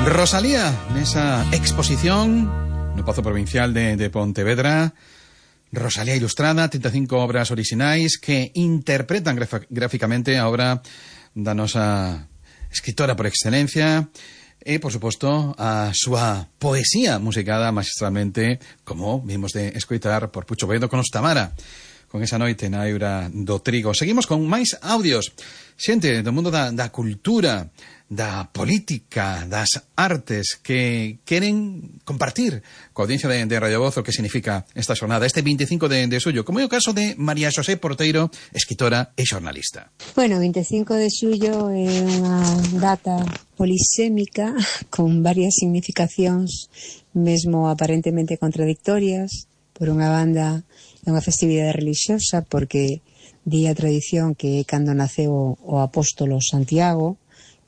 Rosalía, nesa exposición no Pazo Provincial de Pontevedra. Rosalía ilustrada, 35 obras orixinais que interpretan gráficamente a obra da nosa escritora por excelencia e, por suposto, a súa poesía musicada magistralmente, como vimos de escoitar por Pucho Boedo con Ostamara, con esa noite na Eura do Trigo. Seguimos con máis audios. Xente do mundo da cultura, da política, das artes que queren compartir coa audiencia de Radio Voz o que significa esta xornada, este 25 de xullo, como é o caso de María Xosé Porteiro, escritora e xornalista. Bueno, 25 de xullo é unha data polisémica con varias significacións mesmo aparentemente contradictorias. Por unha banda, é unha festividade religiosa porque di a tradición que cando naceu o apóstolo Santiago,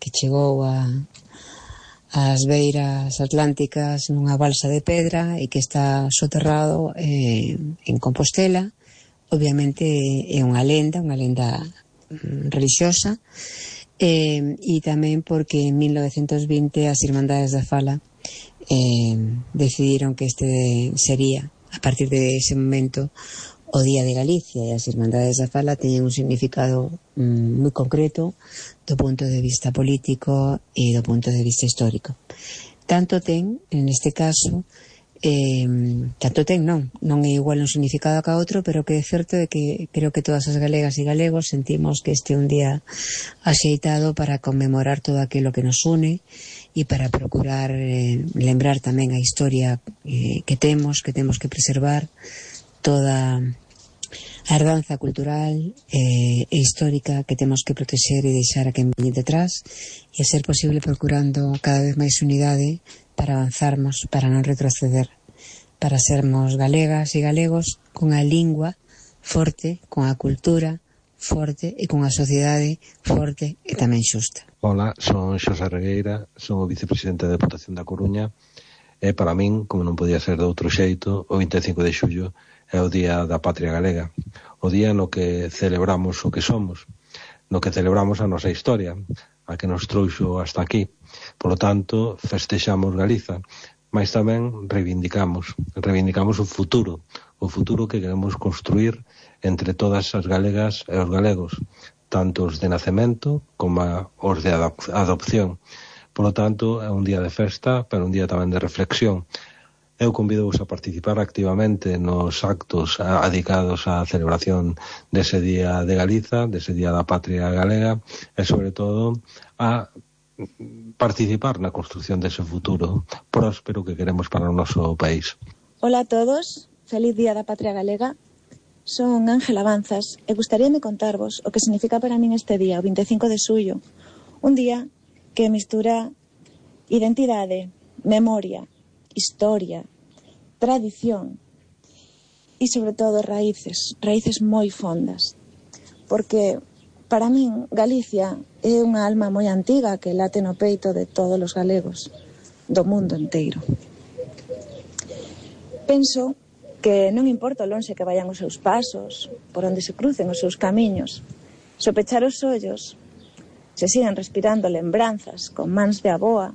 que chegou ás beiras atlánticas nunha balsa de pedra e que está soterrado en Compostela. Obviamente é unha lenda religiosa, e tamén porque en 1920 as Irmandades da Fala decidiron que este sería, a partir de ese momento, o Día de Galicia, e as Irmandades da Fala teñen un significado moi concreto do punto de vista político e do punto de vista histórico. Tanto ten, neste caso, non é igual un significado que a outro, pero que é certo é que creo que todas as galegas e galegos sentimos que este é un día axeitado para conmemorar todo aquilo que nos une e para procurar lembrar tamén a historia que temos que preservar, toda a herdanza cultural e histórica que temos que protexer e deixar a quen veñe detrás, e a ser posible procurando cada vez máis unidade para avanzarmos, para non retroceder, para sermos galegas e galegos con a lingua forte, con a cultura forte e con a sociedade forte e tamén xusta. Hola, son Xosé Regueira, son o vicepresidente da Deputación da Coruña, e para min, como non podía ser de outro xeito, o 25 de xullo é o Día da Patria Galega, o día no que celebramos o que somos, no que celebramos a nosa historia, a que nos trouxo hasta aquí. Por lo tanto, festexamos Galiza, mas tamén reivindicamos o futuro que queremos construir entre todas as galegas e os galegos, tanto os de nacemento como os de adopción. Por lo tanto, é un día de festa, pero un día tamén de reflexión. Eu convido-vos a participar activamente nos actos dedicados á celebración dese Día de Galiza, dese Día da Patria Galega, e sobre todo a participar na construción dese futuro próspero que queremos para o noso país. Hola a todos, feliz Día da Patria Galega. Son Ángela Avanzas e gustaríame contarvos o que significa para min este día, o 25 de xullo. Un día que mistura identidade, memoria, historia, tradición e sobre todo raíces moi fondas, porque para min Galicia é unha alma moi antiga que late no peito de todos os galegos do mundo inteiro. Penso que non importa o lonxe que vayan os seus pasos, por onde se crucen os seus camiños, se pechar os ollos se siguen respirando lembranzas con mans de aboa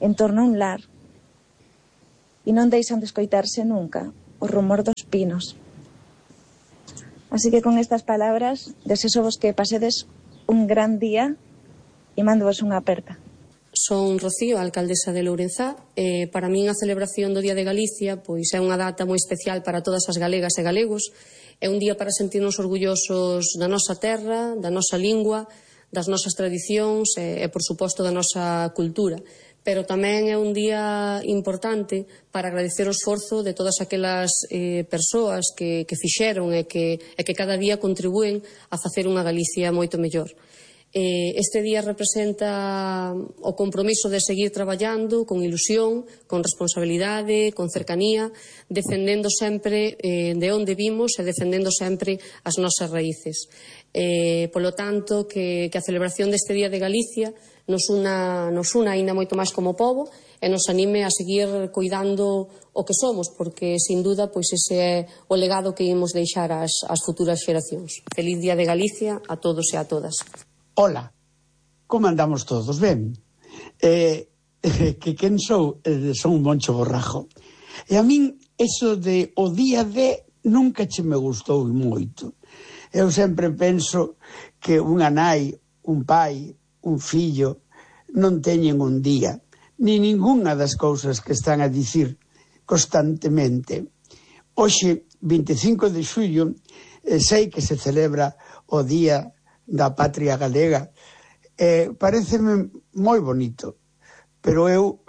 en torno a un lar, e non deixan de escoitarse nunca o rumor dos pinos. Así que con estas palabras desexovos que pasedes un gran día e mándovos unha aperta. Son Rocío, alcaldesa de Lourenzá, e para min a celebración do Día de Galicia pois é unha data moi especial para todas as galegas e galegos. É un día para sentirnos orgullosos da nosa terra, da nosa lingua, das nosas tradicións e por suposto, da nosa cultura. Pero tamén é un día importante para agradecer o esforzo de todas aquelas persoas que fixeron e que cada día contribúen a facer unha Galicia moito mellor. Este día representa o compromiso de seguir traballando con ilusión, con responsabilidade, con cercanía, defendendo sempre de onde vimos e defendendo sempre as nosas raíces. Polo tanto, que a celebración deste Día de Galicia nos una aínda moito máis como pobo e nos anime a seguir cuidando o que somos, porque, sin duda, pois ese é o legado que imos deixar ás futuras xeracións. Feliz Día de Galicia a todos e a todas. Hola, como andamos todos? Ben? que quen sou? Son un Moncho Borrajo. E a min, eso de o día de nunca che me gustou moito. Eu sempre penso que unha nai, un pai, un fillo non teñen un día, ni ningunha das cousas que están a dicir constantemente. Hoxe, 25 de xullo, sei que se celebra o Día da Patria Galega. Paréceme moi bonito, pero eu,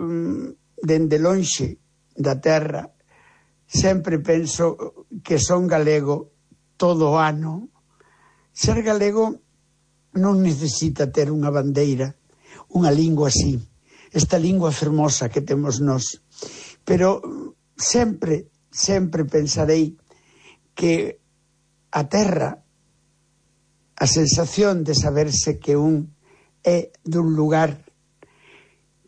dende lonxe da terra, sempre penso que son galego todo o ano. Ser galego non necesita ter unha bandeira, unha lingua así, esta lingua fermosa que temos nós. Pero sempre pensarei que a terra, a sensación de saberse que un é dun lugar,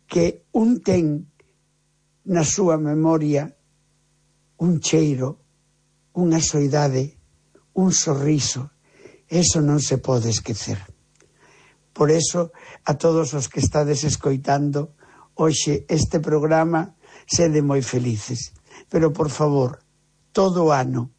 que un ten na súa memoria un cheiro, unha soidade, un sorriso, eso non se pode esquecer. Por eso, a todos os que estades escoitando hoxe este programa, sede moi felices. Pero, por favor, todo o ano.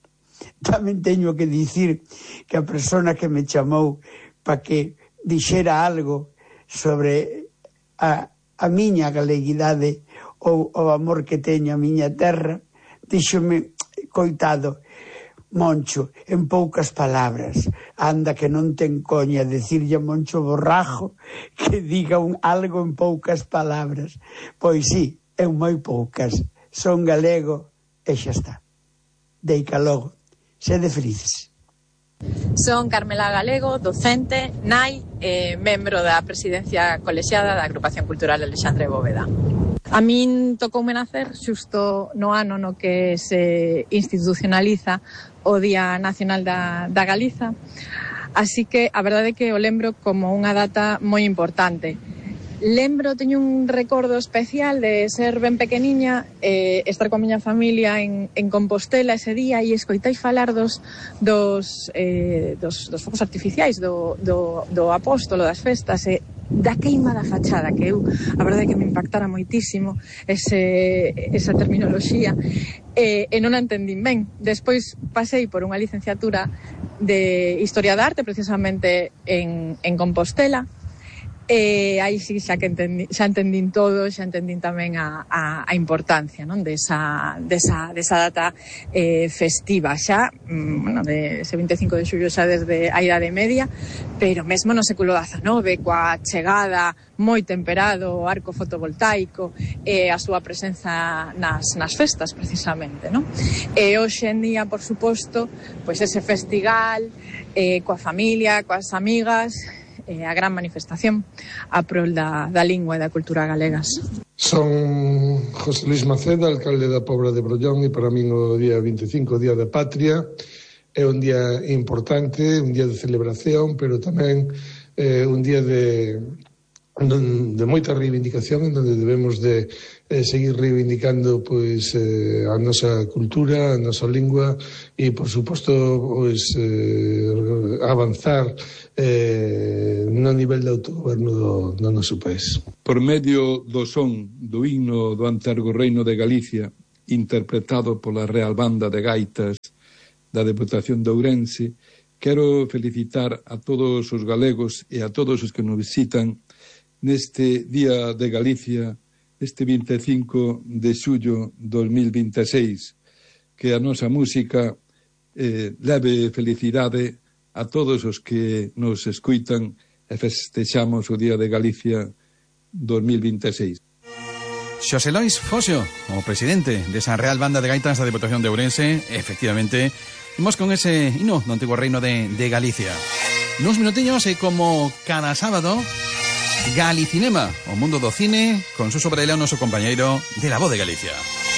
Tamén teño que dicir que a persona que me chamou para que dixera algo sobre a miña galeguidade ou o amor que teño a miña terra, díxome, coitado, Moncho, en poucas palabras, anda que non ten coña decirlle a Moncho Borrajo que diga algo en poucas palabras. Pois sí, en moi poucas. Son galego e xa está. Deica logo. Sede felices. Son Carmela Galego, docente, nai e membro da presidencia colexiada da Agrupación Cultural Alexandre Bóveda. A min tocoume nacer xusto no ano no que se institucionaliza o Día Nacional da Galiza, así que a verdade é que o lembro como unha data moi importante. Teño un recordo especial de ser ben pequeniña, estar coa miña familia en Compostela ese día e escoitai falar dos focos artificiais, do apóstolo das festas e da queima da fachada, que eu, a verdade é que me impactara moitísimo esa terminoloxía e non a entendín ben. Despois pasei por unha licenciatura de Historia da Arte, precisamente en Compostela. Aí sí xa entendín todo, xa entendín tamén a importancia, non, desa data festiva xa, de ese 25 de xullo xa desde a Idade Media, pero mesmo no século XIX, coa chegada moi temperado o arco fotovoltaico e a súa presenza nas festas, precisamente, non? E hoxe en día, por suposto, pois ese festival coa familia, coas amigas, a gran manifestación a prol da lingua e da cultura galegas. Son José Luis Maceda, alcalde da Pobra de Brollón, e para min o día 25, o Día da Patria, é un día importante, un día de celebración, pero tamén un día de moita reivindicación, en donde debemos de seguir reivindicando pois a nosa cultura, a nosa lingua e, por suposto, pois avanzar no nivel de autogoberno do noso país. Por medio do son do himno do Antergo Reino de Galicia, interpretado pola Real Banda de Gaitas da Deputación de Ourense, quero felicitar a todos os galegos e a todos os que nos visitan neste Día de Galicia, este 25 de xullo 2026, que a nosa música leve felicidade a todos os que nos escuitan e festexamos o Día de Galicia 2026. Xosé Lois Foxo, o presidente desa Real Banda de Gaitas da Deputación de Ourense, efectivamente, imos con ese hino do antigo reino de Galicia. Nuns minutiños e como cada sábado, Galicinema, o mundo do cine, con Suso Varela, o noso compañeiro de La Voz de Galicia.